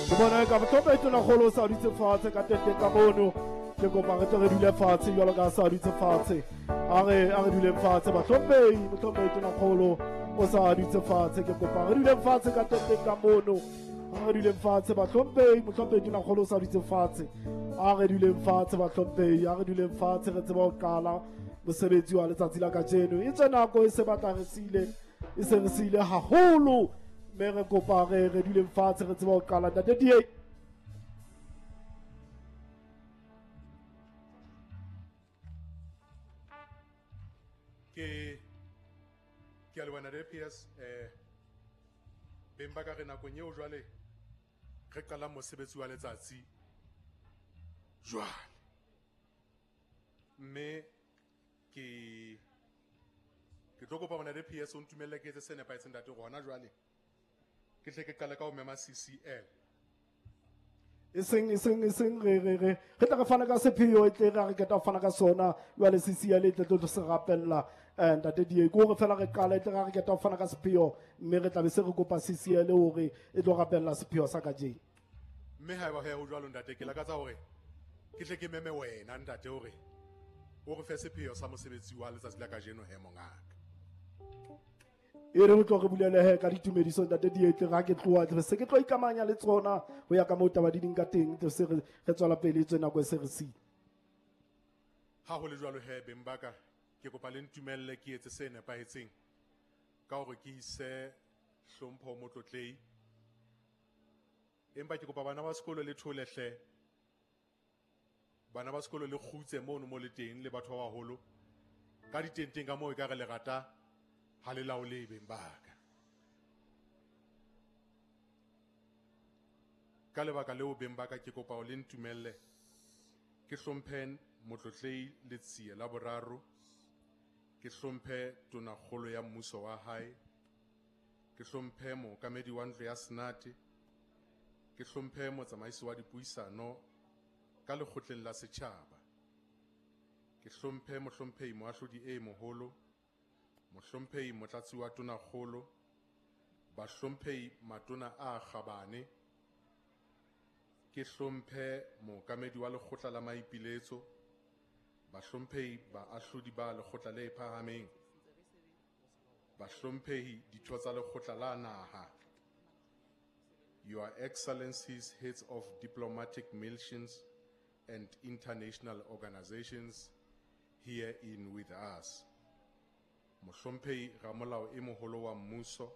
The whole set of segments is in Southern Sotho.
Ke bona eka mohlomphehi Tonakgolo o sa dutse fatshe ka tenteng ka mono. Ke kopa re tle re dule fatshe jwalo ka sa dutse fatshe. A re duleng fatshe bahlomphehi, mohlomphehi Tonakgolo o sa dutse fatshe. Ke kopa re duleng fatshe ka tenteng ka mono. A re duleng fatshe bahlomphehi, mohlomphehi Tonakgolo o sa dutse fatshe. A re duleng fatshe bahlomphehi, a re duleng fatshe re tseba ho qala mosebetsi wa letsatsi la kajeno. E tswe nako e se batla re siile, e se re siile haholo, mme re kopa re duleng fatshe re tseba ho qala. Ntate DA. Ke a leboha ntate PS. Beng ba ka, re nakong eo jwale re qalang mosebetsi wa letsatsi jwale, mme ke tlo kopa ntate PS o ntumelle ke etse se nepahetseng, ntate, hona jwale ke tle ke qale ka ho mema CCL. E seng re tla re fana ka sepheo, e tle re qeta ho fana ka sona jwale CCL e tle tlo se rapella. Ntate DA, ke hore fela re qala, e tle re qeta ho fana ka sepheo, mme re tla be se re kopa CCL hore e tlo rapella sepheo sa kajeno. Mme haeba ho jwalo, ntate, ke lakatsa hore ke tle ke meme wena, ntate, hore o re fe sepheo sa mosebetsi wa letsatsi la kajeno he, mongaka. E re tlo re bulelehe ka ditumediso, ntate DA, tle ra ke tloha tle se ke tlo ikamanya le tsona ho ya ka moo taba di ding ka teng, tle se re tswela pele, e tswe nako e se re siile. Ha ho le jwalo he, beng ba ka, ke kopa le ntumelle ke etse se nepahetseng ka hore ke ise hlompho ho motlotlei, empa ke kopa bana ba sekolo le thole hle, bana ba sekolo le kgutse mono mo le teng, le batho ba baholo ka ditenteng ka moo e ka re lerata ha le laole, beng ba ka. Ka lebaka leo, beng ba ka, ke kopa ho le ntumelle ke hlomphe motlotlei Letsie la Boraro, ke hlomphe tonakgolo ya mmuso wa hae, ke hlomphe mookamedi wa ntlo ya senate, ke hlomphe motsamaisi wa dipuisano ka lekgotleng la setjhaba, ke hlomphe mohlomphehi moahlodi e moholo, mohlomphehi motlatsi wa tonakgolo, bahlomphehi matona a kgabane, ke hlomphe mookamedi wa lekgotla la maipiletso, bahlomphehi baahlodi ba lekgotla le phahameng, bahlomphehi ditho tsa lekgotla la naha, Your Excellencies, heads of diplomatic missions and international organizations here in with us, mohlomphehi ramolao e moholo wa mmuso,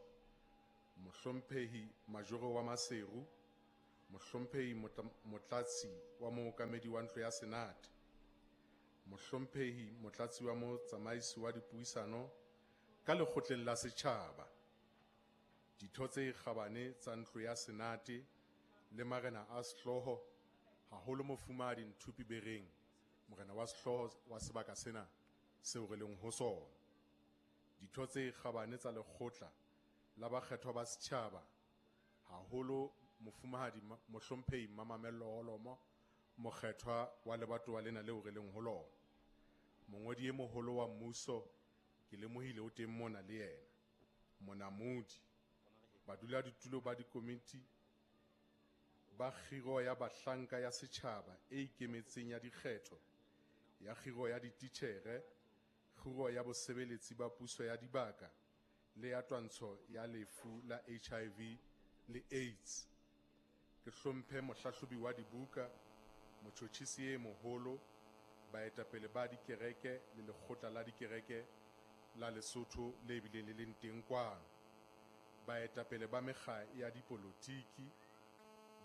mohlomphehi majoro wa Maseru, mohlomphehi motlatsi wa mookamedi wa ntlo ya senate, mohlomphehi motlatsi wa motsamaisi wa dipuisano ka lekgotleng la setjhaba, ditho tse kgabane tsa ntlo ya senate le marena a sehlooho, haholo mofumahadi Nthupi Bereng, morena wa sehlooho wa sebaka sena seo re leng ho sona, ditho tse kgabane tsa lekgotla la bakgethwa ba setjhaba, haholo mofumahadi mohlomphehi Mamamello Holomo, mokgethwa wa lebatowa lena leo re leng ho lona, mongodi e moholo wa mmuso, ke lemohile o teng mona le yena, monamodi, badulasetulo ba dikomiti ba kgiro ya bahlanka ya setjhaba e ikemetseng ya dikgetho, ya kgiro ya dititjhere, kgiro ya bosebeletsi ba puso ya dibaka le ya twantsho ya lefu la HIV le AIDS, ke hlomphe mohlahlobi wa dibuka, motjhotjhisi e moholo, baetapele ba dikereke le lekgotla la dikereke la Lesotho le bileng le leng teng kwano, baetapele ba mekga ya dipolotiki,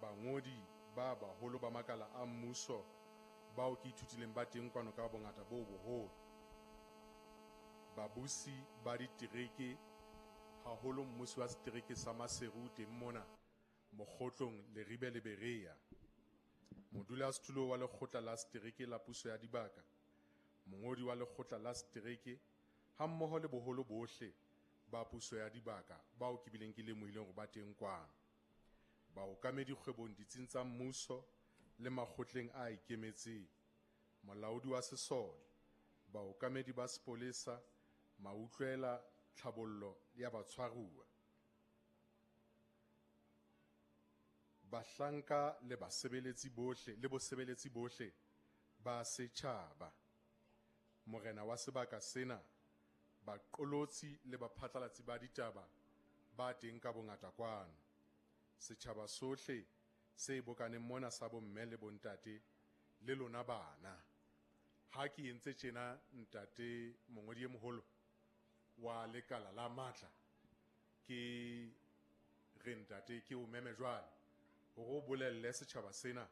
bangodi ba baholo ba makala a mmuso bao ke ithutileng ba teng kwano ka bongata bo boholo, babusi ba ditereke, haholo mmusi wa setereke sa Maseru teng mona Mokgotlong, Leribe le Berea, modulasetulo wa lekgotla la setereke la puso ya dibaka, mongodi wa lekgotla la setereke, hammoho le boholo bohle ba puso ya dibaka bao ke bileng ke lemohileng hore ba teng kwano, baokamedi kgwebong ditsing tsa mmuso le makgotleng a ikemetseng, molaodi wa sesole, baokamedi ba sepolesa, mautlwela tlhabollo ya batshwaruwa, Bahlanka le basebeletsi bohle le bosebeletsi bohle ba setjhaba. Morena wa sebaka sena, baqolotsi le baphatlalatsi ba ditaba ba teng ka bongata kwano. Setjhaba sohle se bokaneng mona sa bomme le bontate le lona bana. Ha ke entse tjena ntate mongodi e moholo wa lekala la matla, ke re ntate ke o meme jwale hore o bolelle setjhaba sena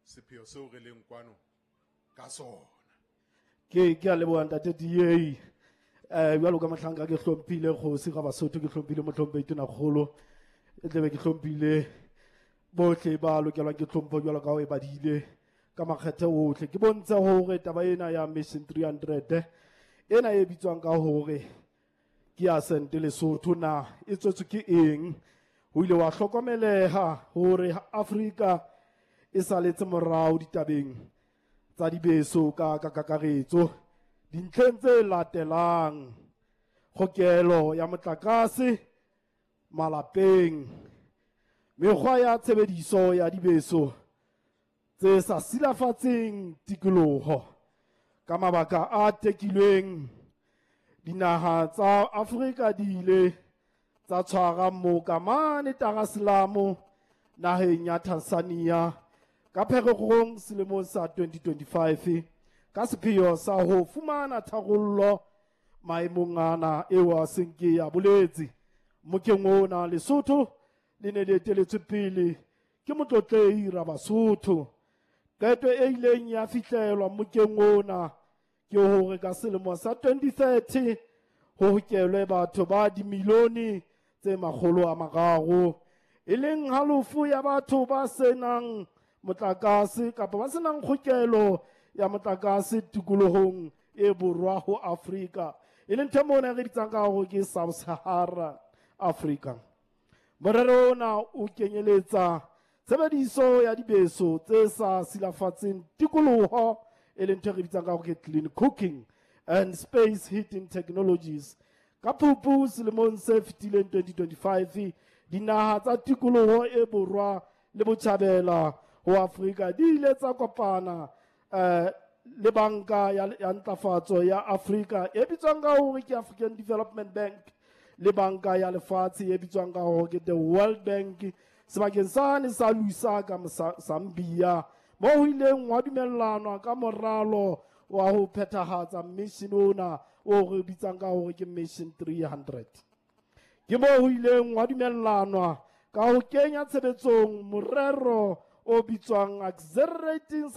sepheo seo re leng kwano ka sona. Ke a leboha ntate DA. Jwalo ka mohlanka ke hlomphile kgosi ga Basotho, ke hlomphile mohlomphehi Tonakgolo, e tlebe ke hlomphile bohle ba lokelwang ke tlhompho jwalo ka ho e badile ka makgethe ohle. Ke bontshe hore taba ena ya Mission 300 ena e bitswang ka hore ke ya Sente Lesotho na e tswetswe ke eng. Ho ile wa hlokomeleha hore Afrika e saletse morao ditabeng tsa dibeso ka kakaretso dintlheng tse latelang: kgokelo ya motlakase malapeng, mekgwa ya tshebediso ya dibeso tse sa silafatseng tikoloho. Ka mabaka a tekilweng, dinaha tsa Afrika di ile tsa tshwara moka mane Dar es Salaam naheng ya Tanzania ka Pherekgong selemong sa 2025 ka sepheo sa ho fumana tharollo maemong ana eo a seng ke ya boletse. Mokeng ona Lesotho le ne le eteletswe pele ke motlotlehi Rabasotho. Qeto e ileng ya fihlelwa mokeng ona ke hore ka selemo sa 2030 ho hokelwe batho ba dimilione tse 300, e leng halofo ya batho ba senang motlakase kapa ba senang kgokelo ya motlakase tikolohong e borwa ho Afrika, e leng ntho mona re bitsang ka hore ke Sub-Sahara Africa. Morero ona o kenyeletsa tshebediso ya dibeso tse sa silafatseng tikoloho, e leng ntho e re bitsang ka hore ke clean cooking and space heating technologies. Ka Phupu selemong se fetileng 2025, dinaha tsa tikoloho e borwa le botjhabela ho Afrika di ile tsa kopana le banka ya ntlafatso ya Afrika e bitswang ka hore ke African Development Bank le banka ya lefatshe e bitswang ka hore ke the World Bank sebakeng sane sa Lusaka Zambia, mo ho ileng wa dumellanwa ka moralo wa ho phethahatsa mission ona o re bitsang ka hore ke Mission 300. Ke mo ho ileng wa dumellanwa ka ho kenya tshebetsong morero o bitswang Accelerating